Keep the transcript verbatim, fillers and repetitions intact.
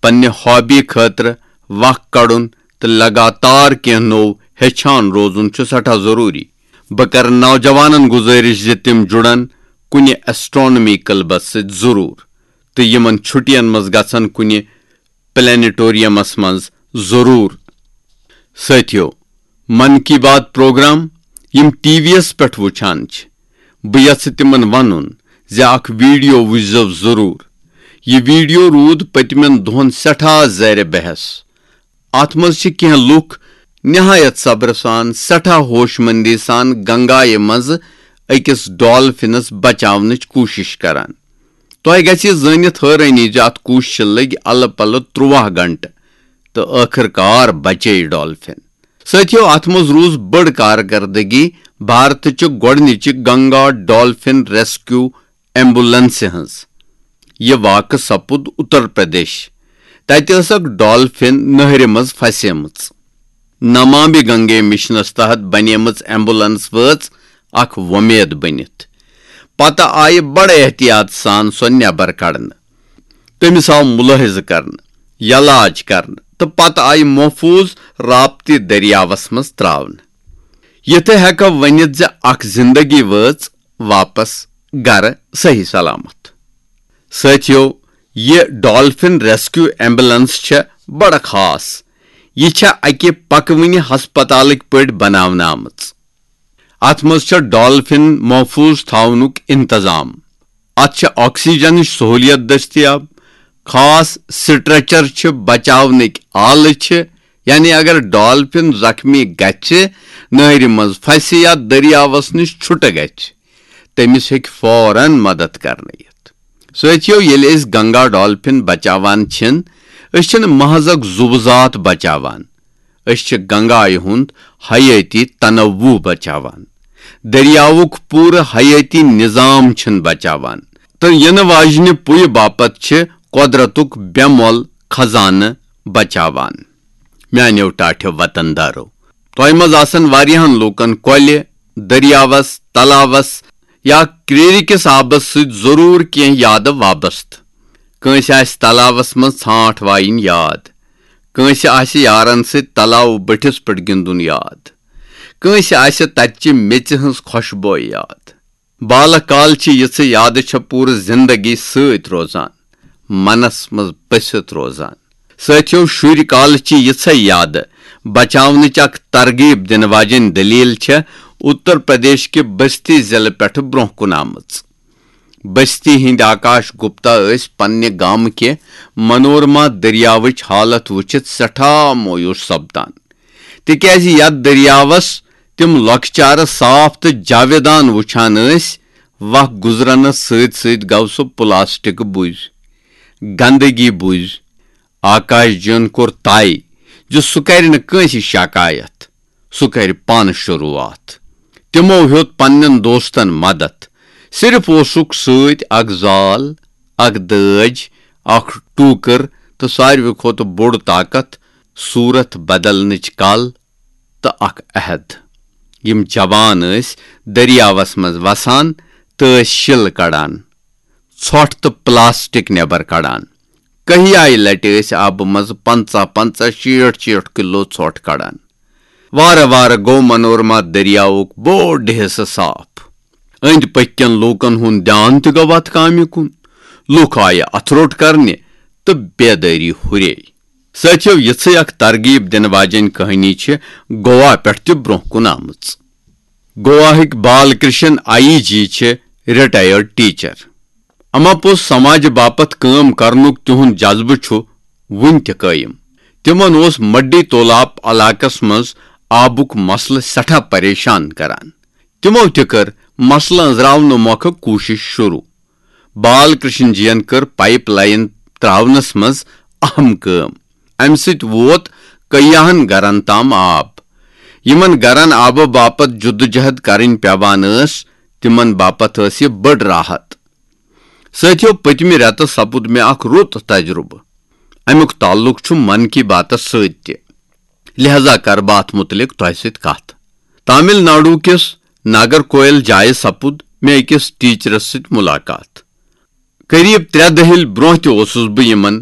پننہِ ہابی خٲطرٕ وق کڑُن تہٕ لگاتار کینٛہہ نوٚو ہیٚچھان روزُن چھُ سٮ۪ٹھاہ ضروٗری۔ بہٕ کرٕ نوجوانن گُزٲرِش زِ تِم جُڑن کُنہِ ایسٹرونامی کلبس سۭتۍ ضروٗر تہٕ یِمن چھُٹین منٛز گژھن کُنہِ پلینیٹوریمس منٛز ضروٗر۔ سٲتھیو، من کی بات پروگرام یِم ٹی وی یس پٮ۪ٹھ وٕچھان چھِ، بہٕ یژھٕ تِمن ونُن زِ اکھ ویڈیو وٕچھزیو ضروٗر۔ یہِ ویڈیو روٗد پٔتمٮ۪ن دۄہن سٮ۪ٹھاہ زیر بحث۔ اتھ منٛز چھِ کینٛہہ لوٗکھ نہایت صبرٕ سان، سٮ۪ٹھاہ ہوش مندی سان گنگایہِ منٛز أکِس ڈالفنس بچاونٕچ کوٗشش کران۔ تۄہہِ گژھِ یہِ زٲنِتھ حٲرٲنی زِ اتھ کوٗششہِ لٔگۍ الہٕ پلہٕ ترٛواہ گھنٹہٕ تہٕ ٲخٕر کار بچے ڈالفن۔ سٲتھیو، اتھ منٛز روٗز بٔڑ کارکردگی بھارتٕچہِ گۄڈٕنِچہِ گنگا ڈالفن ریسکیو ایمبولنسہِ ہٕنٛز۔ یہِ واقعہٕ سپُد اتر پردیش۔ تتہِ ٲس اکھ ڈالفن نہرِ منٛز پھسیمٕژ۔ نمامی گنگے مشنس تحت بنیمٕژ ایمبولنس وٲژ اکھ وۄمید بٔنِتھ۔ پتہٕ آیہِ بڑٕ احتیاط سان سۄ نٮ۪بر کڑنہٕ۔ تٔمِس آو مُلٲحِظہٕ کرنہٕ، یلاج کرنہٕ تہٕ پتہٕ آیہِ محفوٗظ رابطی دٔریاوس منٛز ترٛاونہٕ۔ یِتھٕ ہٮ۪کو ؤنِتھ زِ اکھ زِندگی وٲژ واپس گرٕ صحیح سلامت۔ سٲتھیو، یہِ ڈالفن ریسکیو ایمبولنس چھےٚ بڑٕ خاص۔ یہِ چھےٚ اکہِ پکوٕنہِ ہسپتالٕکۍ پٲٹھۍ بناونہٕ آمٕژ۔ اتھ منٛز چھےٚ ڈالفن محفوٗظ تھاونُک انتظام۔ اتھ چھےٚ آکسیجنٕچ سہولیت دٔستیاب۔ خاص سٹریچر چھِ، بچاونٕکۍ آلہٕ چھِ، یعنی اگر ڈالفن زخمی گژھِ، نہرِ منٛز پھسہِ یا دٔریاوس نِش چھُٹہٕ گژھِ، تٔمِس ہیٚکہِ فوراً مدد کرنہٕ یِتھ۔ سٲتھیو، ییٚلہِ أسۍ گنگا ڈالفن بچاوان چھِن، أسۍ چھِنہٕ محض اکھ زُو ذات بچاوان، أسۍ چھِ گنگایہِ ہُنٛد حیٲتی تنوع بچاوان۔ دٔریاوُک پوٗرٕ حیٲتی نظام چھِن بچاوان۔ تہٕ یِنہٕ واجنہِ پُیہِ باپتھ چھِ قۄدرتُک بے مۄل خزانہٕ بچاوان۔ میانیو ٹاٹھیو وطن دارو، تۄہہِ منٛز آسن واریاہن لوٗکن کۄلہِ، دٔریاوس، تلاوس یا کرٛیٖرِ کِس آبس سۭتۍ ضروٗر کینٛہہ یادٕ وابستہٕ۔ کٲنٛسہِ آسہِ تلاوس منٛز ژھانٛٹھ وایِنۍ یاد۔ کٲنٛسہِ آسہِ یارن سۭتۍ تلاوٕ بٔٹھِس پٮ۪ٹھ گِنٛدُن یاد۔ کٲنٛسہِ آسہِ تتہِ چہِ میٚژِ ہٕنٛز خۄشبوے یاد۔ بالہٕ کال چہِ یِژھٕ یادٕ چھےٚ پوٗرٕ زِندگی سۭتۍ روزان، منس منٛز بٔسِتھ روزان۔ سٲتھیو، شُرۍ کالہٕ چہِ یِژھے یادٕ بچاونٕچ اکھ ترغیب دِنہٕ واجیٚنۍ دٔلیٖل چھےٚ اتر پردیش کہِ بستی ضلعہٕ پٮ۪ٹھٕ برونٛہہ کُن آمٕژ۔ بستی ہٕنٛدۍ آکاش گپتا ٲسۍ پننہِ گامہٕ کہِ منورما دٔریاوٕچ حالت وٕچھِتھ سٮ۪ٹھاہ مویوٗس سپدان، تِکیازِ یتھ دٔریاوس تِم لۄکچارٕ صاف تہٕ جاویدان وٕچھان ٲسۍ، وق گُزرنس سۭتۍ سۭتۍ گوٚو سُہ پلاسٹک بُز، گندگی بُز۔ آکاش جِین کوٚر طے زِ سُہ کرِ نہٕ کٲنٛسہِ شکایت، سُہ کرِ پانہٕ شروٗعات۔ تِمو ہیوٚت پننٮ۪ن دوستن مدد۔ صرف اوسُکھ سۭتۍ اکھ زال، اکھ دٲج، اکھ ٹوٗکٕر تہٕ ساروی کھۄتہٕ بوٚڑ طاقت، صوٗرت بدلنٕچ کل تہٕ اکھ عہد۔ یِم جوان ٲسۍ دٔریاوس منٛز وسان تہٕ ٲسۍ شِل کڑان، ژھۄٹھ تہٕ پلاسٹک نٮ۪بر کڑان۔ کہیایہِ لٹہِ ٲسۍ آبہٕ منٛزٕ پنٛژاہ پنٛژاہ، شیٹھ شیٹھ کلو ژھۄٹھ کڑان۔ وارٕ وارٕ گوٚو منورما دٔریاوُک بوٚڑ حصہٕ صاف۔ أنٛدۍ پٔکۍ کٮ۪ن لوٗکن ہُنٛد دیان تہِ گوٚو اتھ کامہِ کُن۔ لوٗکھ آیہِ اتھٕ روٚٹ کرنہِ تہٕ بیدٲری ہُرے۔ سٲتھیو، یِژھٕے اکھ ترغیب دِنہٕ واجیٚنۍ کہانی چھِ گوا پٮ۪ٹھ تہِ برونٛہہ کُن آمٕژ۔ گواہٕکۍ بال کرشن آئی جی چھِ ریٹائرڈ ٹیچر۔ اما پوٚز سماجہِ باپتھ کٲم کرنُک تِہُنٛد جذبہٕ چھُ وُنہِ تہِ قٲیِم۔ تِمن اوس مڈی تولاب علاقس منٛز آبُک مسلہٕ سٮ۪ٹھاہ پریشان کران۔ تِمو تہِ کٔر مسلہٕ أنٛزراونہٕ مۄکھٕ کوٗشش شروٗع۔ بال کرشن جین کٔر پائپ لائن تراونس منٛز اہم کٲم۔ امہِ سۭتۍ ووت کیاہن گرن تام آب۔ یِمن گرن آبہٕ باپتھ جدوجہد کرٕنۍ پیوان ٲس، تِمن باپتھ ٲس یہِ بٔڑ راحت۔ سٲتھیو، پٔتمہِ رٮ۪تہٕ سپُد مےٚ اکھ رُت تجربہٕ۔ امیُک تعلق چھُ من کی باتس سۭتۍ تہِ، لہذا کرٕ بہٕ اتھ مُتعلق تۄہہِ سۭتۍ کتھ۔ تامل ناڈو کِس ناگرکویل جایہِ سپُد مےٚ أکِس ٹیچرس سۭتۍ ملاقات۔ قریب ترٛےٚ دٔہِل برونٛہہ تہِ اوسُس بہٕ یِمن